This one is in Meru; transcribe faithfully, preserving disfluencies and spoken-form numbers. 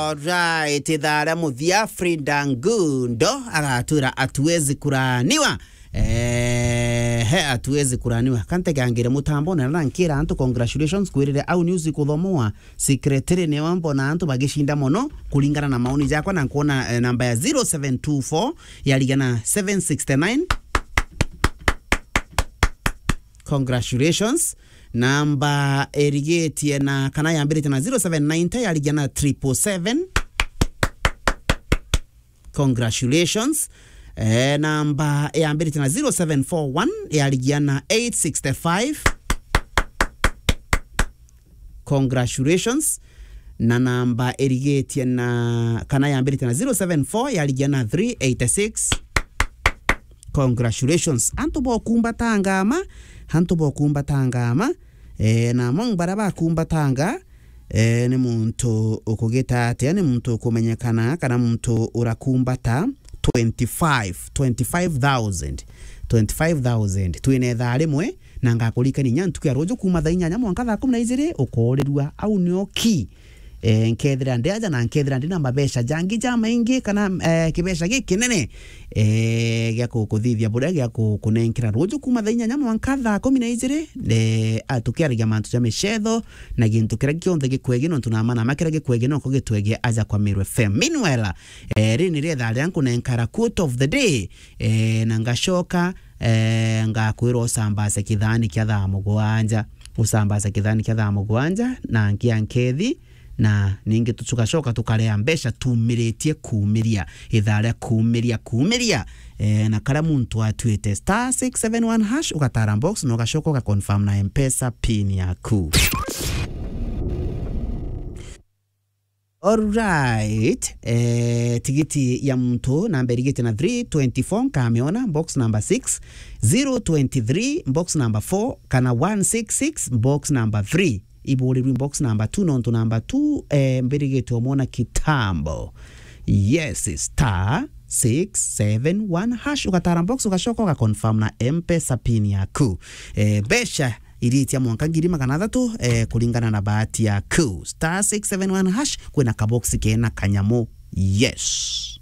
Alright, ithaa ria muthia, Frida Ngundo agatwira hatuwezi kulaaniwa. Eh, he, hatuwezi kulaaniwa. Kantegangire mutambo na na nkira antu congratulations kwirire au news ikuthomoa. Secretary niwe mbona antu bagishinda mono kuringana na maoni jakwa, na nkuona, eh, namba ya zero seven two four yarigia na seven sixty nine. Congratulations. Namba irigitie na, kana yambiritie na zero seven ninety yarigia na triple seven. Congratulations. Eh, namba yambiritie na zero seven four one yarigia na eight sixty five. Congratulations. Na namba irigitie na, kana yambiritie na zero seven four yarigia na three eighty six. Congratulations. Antu bokumbatanga ma, antu bokumbatanga ma. Eh, na among baria bakumbatanga, eh, ni muntu ukugita atia, ni muntu ukumenyekana, kana muntu urakumbata twenty-five, twenty-five thousand, twenty-five thousand. Twina ithaa rimwe, na ngakuririkania inya ntuku ya ruju kuma thaa inyanya mwanka thaa kumi na ijiri, ukoorirua. Au nio ki. Eh, nkethira ndi aja na nkethira ndi na mabeca jangi jamaingi kana, eh, kibeca gikinene, eh, gia kukuthithia buria gia kukunenkera ruju kuma thaa inyanya mwanka thaa kumi na ijiri, eh, a, tukiaragia mantu ja micetho na gintu kiria kionthe gikwegi, nontu na mana ma kiria gikwegi noko gitwegi aja kwa Meru F M. Meanwhile, eh, riri ni rietha ria nkunenkara quote of the day, eh, na ngacoka, eh, ngakwira usambace kithani kia thaa mugwanja, usambace kithani kia thaa mugwanja, na nkia nkethi, na ningi tugacoka tukarea mbeca tumiritie kumiria, ithaa ria kumiria, kumiria. Eh, na karia muntu atuite star six seven one hash, ugatara box na ugacoka ugaconfirm na M-Pesa pin yaku. Alright, eh, tigiti ya muntu namba irigite na three twenty-four nkamiona, box number six, zero twenty-three, box number four, kana one six six, box number three. Iburirwe box number two, nontu number two, eh, mbirigite omwona kitambo. Yes, star six seven one hash, ugatara box, ugacoka ugaconfirm na M-Pesa pin yaku. Eh, mbeca iritia mwanka ngiri magana athatu, eh, kuringana na bahati yaku. Star six seven one hash, kwina kabox kena kanyamu. Yes.